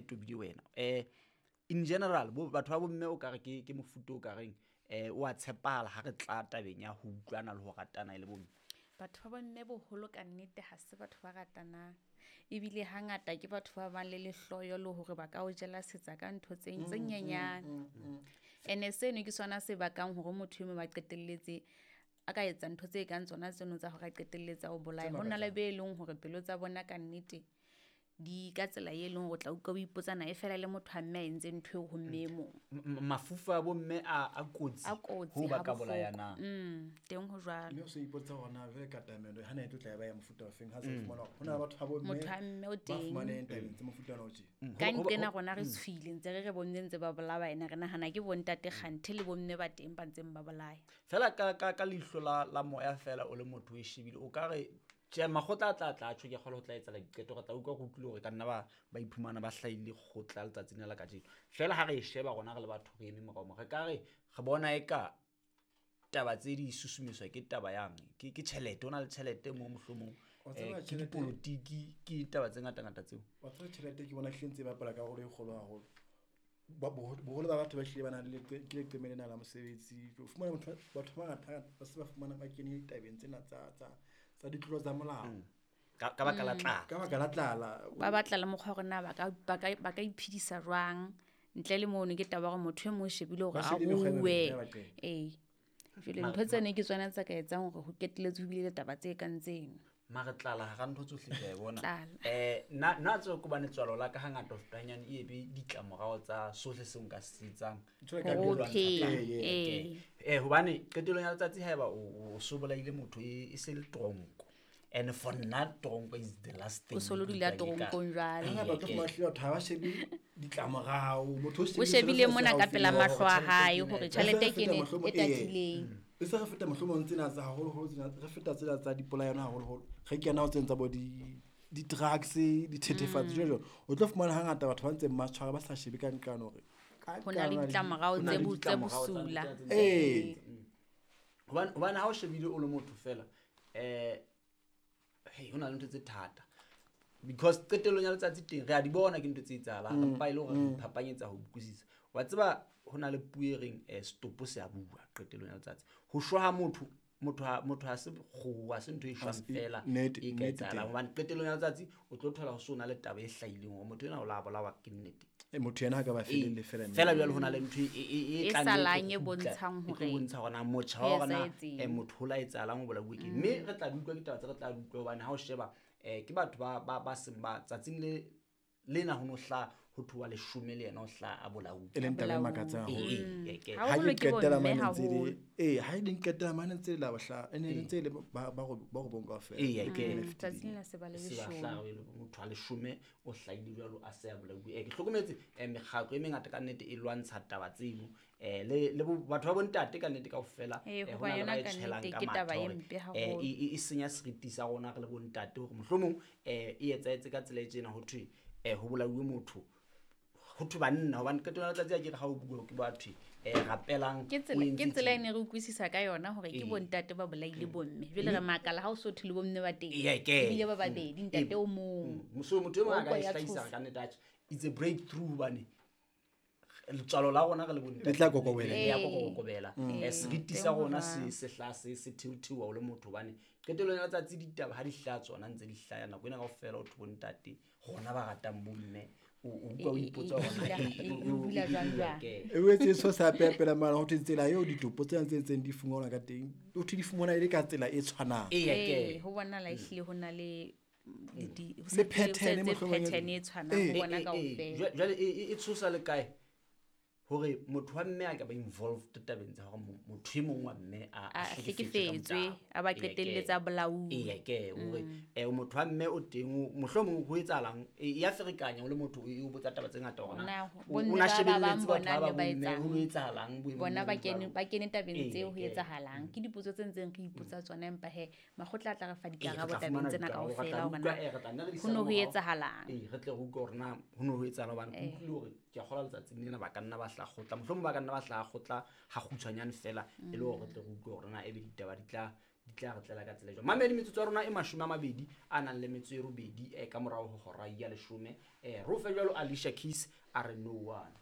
tobile wena. In general bo batho ba bomme o ka re ke mofuta o ka reng o a tshepala ha re tla tabeng ya ho utlwana le ho ratana e le bomme. Batho ba bomme boholo ka nnete ha se batho ba ratanang. Ebile hangata ke batho ba bang le lehloyo le hore ba ka o jela setsa ka ntho tse nyenyane. Ene seno ke sona se bakang hore motho e mong ba qetelletse a ka etsa ntho tse kang tsona tseno tsa hore a qetelletse o bolaya. Ho na le be leng hore pelo tsa bona ka nnete di ka tsela e leng hore tla utlwa o ipotsa na e fela le motho a mme a entse ntho eo ho mme e mong. Mafufa a bomme a kotsi ho ba ka bolayana. Teng ho jwalo. Mme o se ipotsa hore na jwale ka tamelo ha na e tlo tla ba ya mofuta o feng ha se fumana hore hona batho ba bomme motho a mme o teng ba fumaneng tabeng tse mofuta ona o tje. Ka nqena rona re tshwile ntse re bomme ntse ba bolaya ena re nahana ke bontate kganthe le bomme ba teng ba ntseng ba bolaya. Fela ka leihlo la moya fela o le motho o shebile o ka re tje makgotla a tla tjho ke kgolo ho tla etsa diqeto re tla utlwa go utlwile hore ka nna ba iphumana ba hlahile kgotla letsatsing la kajeno. Fela ha re e sheba rona re le batho re eme morao mo re ka re re bona eka taba tse di susumetswa ke taba yang ke tjhelete o na le tjhelete mo mohlomong ke dipolotiki ke taba tse ngata ngata tseo. Wa tseba tjhelete ke bona hlile ntse ba bapala karolo e kgolo haholo. Boholo ba batho ba hlile ba na le ke leqeme lena la mosebetsi. O fumana batho ba bangata ba se ba fumana ba kene ditabeng tsena tsa ditlolo tsa molao. Ka baka la tlala. Ka baka la tlala. Ba batla le mokgwa hore na ba ka iphedisa jwang ntle le mono ke taba hore motho e mong o shebile hore a rue. Jwale ntho tsena ke tsona tsa ka etsang hore ho qetelletse ho bile le taba tse kang tseno. Mare tlala ha ntho tsohle ke a bona. Nna tseo ke bane tswalo la ka hangata ho fetanyane e be ditlamorao tsa sohle seo nka se etsang. Hobane qetellong ya letsatsi haeba o sobolaile motho e se le tronko. And for nna tronko is the last thing. O solo dula tronkong jwale. Ha batho ba hlile ha ba shebe ditlamorao motho o shebile mona ka pela mahlo a hae hore tjhelete ke ne e tatileng. E se re feta mohlomong tsena tsa haholoholo tsena re feta tsena tsa dipolayano haholoholo re kena ho tsena tsa bo di-drugs dithethefatsi jwalo o tlo fumana hangata batho ba ntseng ba tshwara ba sa shebe ka nqane hore ho na le ditlamorao tse bosula. Hobane ha o shebile o le motho fela hey ho na le ntho tse thata because qetellong ya letsatsi teng re a di bona ke ntho tse etsahalang empa e le hore re iphapanyetsa ho utlwisisa. Wa tseba ho na le puo e reng stopo se a bua qetellong ya letsatsi. Ho shwa ha motho ha se kgoho ha se ntho e shwang fela e ka etsahalang hobane qetellong ya letsatsi o tlo thola ho so na le taba e hlahileng hore motho ena o la bolawa ke nnete. Motho yena ha ka ba felelle fela fela jwale ho na le ntho e tlang e bontshang hore e bontsha hore na motjha wa hore na motho o la etsahalang o bolauwe ke mme re tla utlwa ditaba tse re tla utlwa hobane ha o sheba ke batho ba seng ba tsatsing le lena ho no hla ho thoa leshome le yena o hla a bolauwe e leng taba e makatsang ha ke qetela mane ntse le ha e qetela mane ntse la bohla ene ntse le ba robong kaofela tsatsing la se ba le leshome motho a leshome o hlahile jwalo a se a bolauwe. Ke hlokometse mekgatlo e mengata ka nnete e lwantsha taba tseno le batho ba bontate ka nnete kaofela ho na le ba e tshwelang ka matha hore e senya seriti sa rona re le bontate hore mohlomong e etsahetse ka tsela e tjena ho thwe ho bolauwe motho ho thwe banna hobane qetellong ya letsatsi a ke re ha o bua ke batho rapelang ke tsela e ne re utlwisisa ka yona hore ke bontate ba bolaile bomme jwale re makala ha o so thwe le bomme ba teng ebile ba babedi ntate o mong so motho e mong a ka e hlahisa ka nnete atjhe it's a breakthrough hobane letswalo la rona re le bontate le tla kokobela ya kokobela seriti sa rona se hla se theothewa o le motho hobane qetellong ya letsatsi ditaba ha di hlaha tsona ntse di hlaya nako ena kaofela o thwe bontate rona ba ratang bomme o utlwa o ipotsa hore e wetse so sa pepela mara ho tsela eo ditopo tse ntseng di fumanwa ka teng o thwe di fumana e le ka tsela e tshwanang ho bona la ehlile ho na le le pattern e tshwanang ho bona kaofela jwale e tshosa le kae hore motho wa mme a ka ba involved tabeng tsa hore motho e mong wa mme a hlekefetswe a ba qetelletsa bolauwe hore motho wa mme o teng mohlomong ho etsahalang ya ferekanya o le motho o botsa taba tse ngata hore na o na shebelletse batho ba bomme ho etsahalang bona ba kene tabeng tseo ho etsahalang ke dipotso tse ntseng re ipotsa tsona empa he makgotla a tla re fa dikarabo tabeng tsena kaofela hore na ho no ho etsahalang re tle re utlwe hore na ho no ho etsahalang hobane ke utlwile hore ke a kgolwa letsatsing lena ba ka nna ba hla kgotla mohlomong ba ka nna ba hla kgotla ha kgutshwanyane fela e le hore re tle re utlwe hore na ebe ditaba di tla di tla re tlela ka tsela e jwang. Mamedi, metsotso ya rona e 28 ka morao ho hora ya 10. Re o fe jwalo Alicia Keys a re no one.